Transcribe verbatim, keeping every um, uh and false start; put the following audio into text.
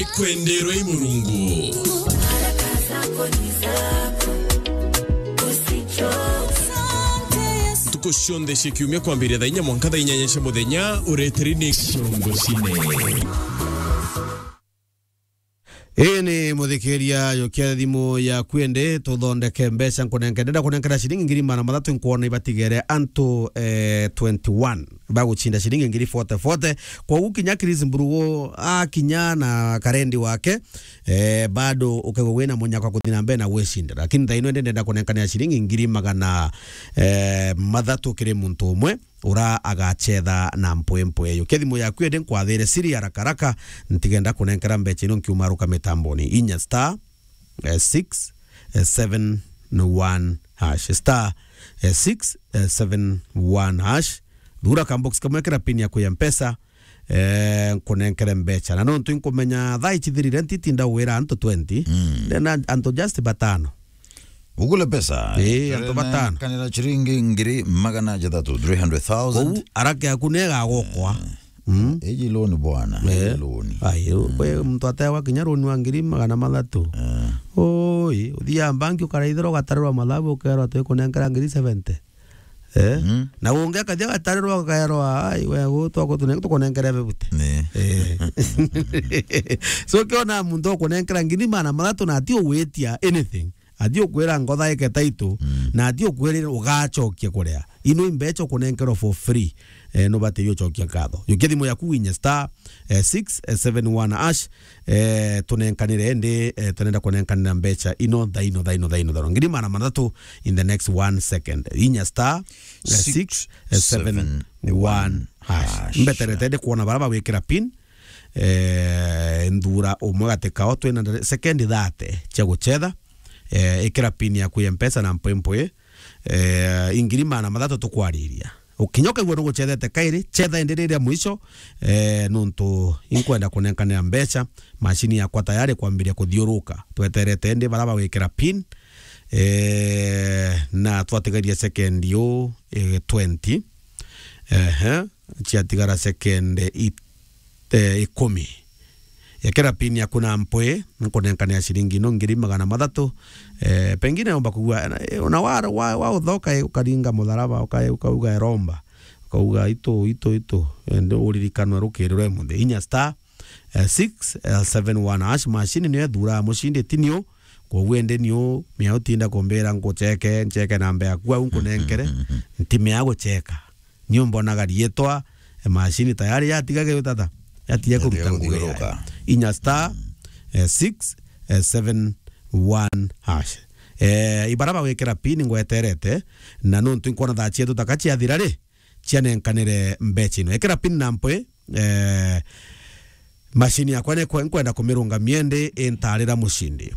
Ikwenderwe i Murungu. Ntuku cionthe cia kiumia kwambiria thaa inya mwanka thaa inyanya cia muthenya, ureteri ni Murungu cine. Ii ni muthikiria, yukia thimu yaku indi tuthondeke mbeca. Nkunenke, ndenda kunenkera ciringi ngiri magana mathatu, nkwona ibatigere antu, eh, twenty-one bagucinda ciringi ngiri forty forty. Kwogu kinya Chris Mburugu akinya na karendi wake, eh, bado ukaigua wina munyaka kuthi na mbere na gwicindira. Lakini thaa ino indi ndenda kunenkanira ciringi ngiri magana, eh, mathatu kiri muntu umwe ura agachetha na mpwempwe eyo. Ke thimu yaku indi nkwathire siri haraka haraka, ntigenda kunenkera mbecha ino nkiumaruka mitamboni. Inya star, eh, six, eh, seven, one hash. Star, eh, six, eh, seven, one hash. Thura kambox kamwe, kira pin yaku ya Mpesa, eh, nkunenkere mbecha. Na nontu inkumenya thaa ichithirire, ntitinda gwira antu twenty. Mm. Then an-, antu just batano. Ugule pesa. Eh, antu batano. Kanira ciringi ngiri magana jathatu, three hundred thousand. Kou, araka yaku ni egagokwa. Mm. Iji loan bwana, eh, iji loan. Ai, mm, we muntu atewa kinya loan wa ngiri magana mathatu. Eh. Oi, uthia banki ukaraithirwa ugatarirwa mathabu ukerwa twi kunenkera ngiri seventy. Eh? Mm. Na ungi akathia gatarirwa ukerwa, ai, we gu twako tune-, tukunenkere bebute. Ni. Eh. So kiona muntu ukunenkera ngiri magana mathatu na ati ugwitia anything. Ati ukwira ngotha ike title, mm, na ati ukwirira ugachokia kuria. Ino imbecha ukunenkerwa for free. Eh, nubatiri uchokia nkatho. Yukia thimu yaku winye star, eh, six seven one hash, eh, tunenkanire indi, eh, tunenda kunenkanira mbecha ino thaa ino, thaa ino, thaa ino, thaa ino. Ngiri magana mathatu in the next one second. Inya star, eh, six seven one hash. Mbeterete ndi kwona bara bawikira pin. Eh, nthura umwe gati kao twina ndare-, sekendi thate cia guchetha. Eh, ikira pin yaku ya Mpesa na mpwempwe. Eh, ingiri magana mathatu tukwariria. Ukinya ukaigua nuguchethete kairi, chetha indi riria mwisho, eh, nuntu inkwenda kunenkanira mbecha, mashini yakwa tayari kwambiria kuthiuruka. Tweterete indi bara bawikira pin, eh, na twatigaria sekendi u, eh, twenty. Ehe. Ciatigara sekendi it-, eh, ikumi. Ekera pin yaku na mpwi, nkunenkania ciringi ino ngiri magana mathatu. Eh, pengine omba kugua, eh, ona wa, wa, wa uthoka, eh, ukaringa mutharaba, uka-, ukauga eromba. Ukauga itu, itu, itu. Ende uririkanwe rukirirwe muthi. Inya star, eh, six seven one hash, machine niyo ethuraa mucindi, ti niu. Kwoguo ende niu, mia utinda kumbira nkucheke, ncheke namba yaku au nkunenkere, ntimea gucheka. Niu mbonaga riitwa, e, machine tayari yatiga gutata, yatiga kuruta ngugi yayo. Inya star, e, six seven one hash. E, ibara bagwikira pin ngweterete, na nontu nkwona thaa cietu taka ciathira ri, cianenkanire mbecha ino. Ekera pin na mpwi, e, machine yakwa ni kwe-, nkwenda kumirungamia indi intarira mucindi.